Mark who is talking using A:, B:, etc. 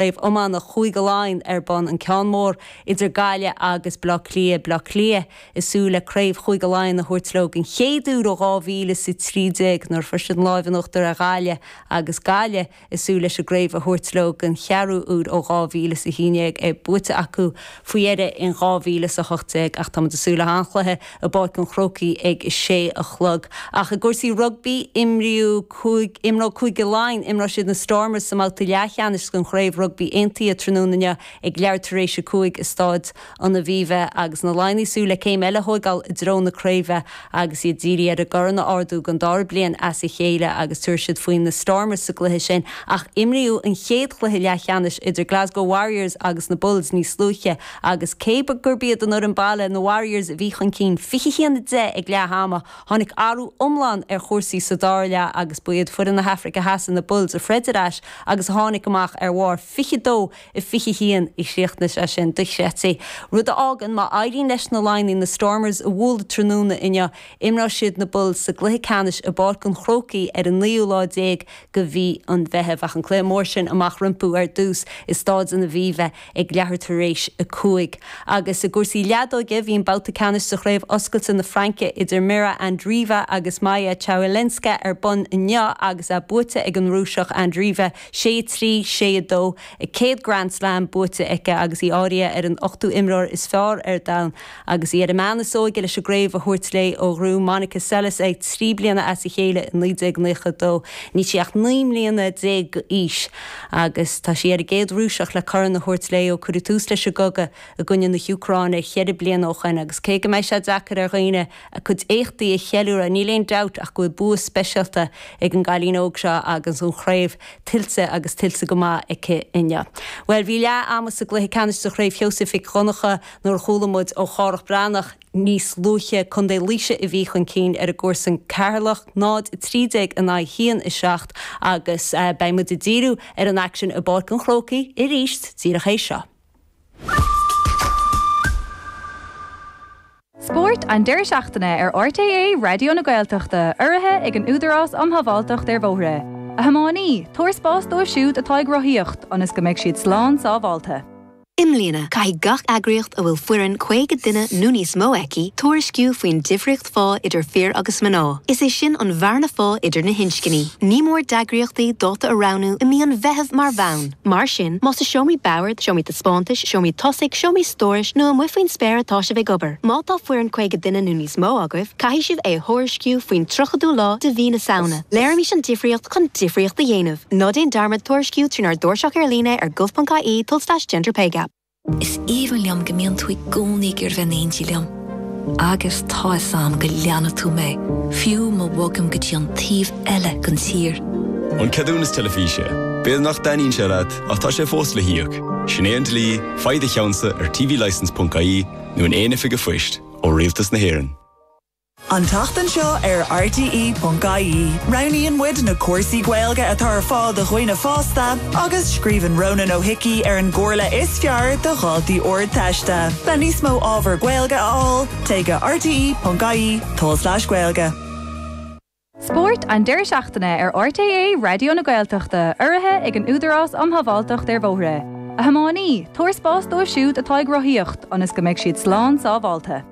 A: Craobh Iomána Chúige Laighean ar bun, an ceann mór idir Gaillimh agus Baile Átha Cliath, Baile Átha Cliath ag súil le Craobh Chúige Laighean a thabhairt leo den chéad uair ó 2013 nuair a fuair siad an láimh in uachtar ar Ghaillimh agus Gaillimh ag súil leis an gcraobh a thabhairt leo den cheathrú huair ó 2011, é buaite acu faoi dheireadh in 2018 ach tá muid ag súil le han-chluiche i bPáirc an Chrócaigh ag a sé a chlog. Ach i gcúrsaí rugbaí, imríodh. Imreoidh Cúige Laighean, imreoidh siad na Stormers sa mbabhta leathcheannais den Chraobh Rugbaí Aontaithe tráthnóna inniu ag leathuair tar éis 5 i Stáid an Aviva agus na Laighnigh ag súil le céim eile a thóigeáil i dtreo na craoibhe agus iad dírithe ar an gcorn a ardú don dara bliain as a chéile agus tabharfaidh siad faoi na Stormers sa gcluiche sin ach imríodh an chéad chluiche leathcheannais idir Glasgow Warriors agus na Bulls níos luaithe agus cé gurb iad an fhoireann baile, na Warriors, a bhí chun cinn 21 10 ag leath ama, Tháinig athrú iomlán ar chúrsaí sa dara leath agus ba iad foireann na hAfraice Theas, na Bulls, a throid ar ais agus a tháinig amach ar bharr 22 a 21 a chríochnaigh sé sin dochreidte. Rud a fhágann má éiríonn leis na Laighnigh na Stormers a bhualadh tráthnóna inniu, imreoidh siad na Bulls sa gcluiche ceannais i bPáirc an Chrócaigh ar an naoú lá déag de mhí an Mheithimh. Ach an cluiche mór sin amach rompu ar dtús i Stáid an Aviva ag leathuair tar éis 5. Agus i gcúrsaí leadóige, bhí an babhta ceannais de Chraobh Oscailte na Fraince idir Mirra Andreeva agus Maja Chwalinska ar bun inniu agus é buaite ag an Rúiseach Andreeva, 6 3, 6 2, a céad Grand Slam buaite aici agus í áirithe ar an ochtú imreoir is fearr ar domhan agus í ar an mbean is óige leis an gcraobh a thabhairt léi ó ghnóthaigh Monica Seles é 3 bliana as a chéile i 1992. Níl sí ach 19 mbliana d'aois agus tá sí ar an gcéad Rúiseach le corn a thabhairt léi ó cuireadh tús leis an gcogadh i gcoinne na hÚcráine cheithre bliana ó shoin agus cé go mbeidh sé deacair ar dhaoine a cuid éachtaí a cheiliúradh níl aon dabht ach go bhfuil bua speisialta ag an gcailín óg seo agus an chraobh tuillte agus tuillte go maith aici inniu. Bhuel bhí leath ama sa gcluiche ceannais de Chraobh Sheosaimh Mhic Dhonncha nuair a chuala muid ó Chárthach Breathnach níos luaithe, Contae Laoise a bhí chun cinn ar a gcomharsain Ceatharlach, 0, 13 in aghaidh 1, 7, agus beidh muid ag díriú ar an aicsean i bPáirc an Chrócaigh arís díreach théis seo.
B: Spórt an deireadh seachtaine ar RTÉ Raidió na Gaeltachta, urraithe ag an Údarás um Shábháilteacht ar Bhóithre. A thiománaí, tabhair spás dóibh siúd atá ag rothaíocht, ionas go mbeidh siad slán sábháilte.
C: I mbliana, caithfidh gach eagraíocht a bhfuil foireann 50 duine nó níos mó aici tuairisciú faoin difríocht phá idir fir agus mná, is é sin an bhearna phá idir na hinscní. Ní mór d'eagraíochtaí dáta a roghnú i mí an Mheithimh mar bhonn. Mar sin, más i seomraí boird, seomraí taispeántais, seomraí tosaigh, seomraí stórais nó amuigh faoin spéir atá sibh ag obair, má tá foireann 50 duine nó níos mó agaibh, caithfidh sibh é a thuairisciú faoin 30ú lá de mhí na Samhna. Léirímis an difríocht chun difríocht a dhéanamh. Ná déan dearmad tuairisciú trínár dtairseach ar líne ar gov.ie tulslais genderpaygap.
D: Is aoibhinn liom go mbíonn tú i gcónaí ag iarraidh bheith in éindí liom. Agus tá 'fhios a'm go leanfaidh tú mé, fiú má bhogaim go dtí an taobh eile den tír.
E: An ceadúnas teilifíse. B'fhéidir nach dtaitníonn sé leat, ach tá sé fós le híoc. Sin é an dlí, faigh do cheannsa ar tvlicence.ie nó in aon oifig an phoist ó Rialtas na hÉireann.
F: An tseachtain seo ar RTÉ.ie, roghnaíonn muid na cúrsaí Gaeilge atá ar fáil do dhaoine fásta agus scríobhann Rónán Ó hIcí ar an gcomhairle is fearr do dhaltaí Ardteiste. Le níos mó ábhar Gaeilge a fháil, téigh go rte.ie tulslais Gaeilge.
B: Spórt an deireadh seachtaine ar RTÉ Raidió na Gaeltachta, urraithe ag an Údarás um Shábháilteacht ar Bhóithre. A thiománaí, tabhair spás dóibh siúd atá ag rothaíocht, ionas go mbeidh siad slán sábháilte.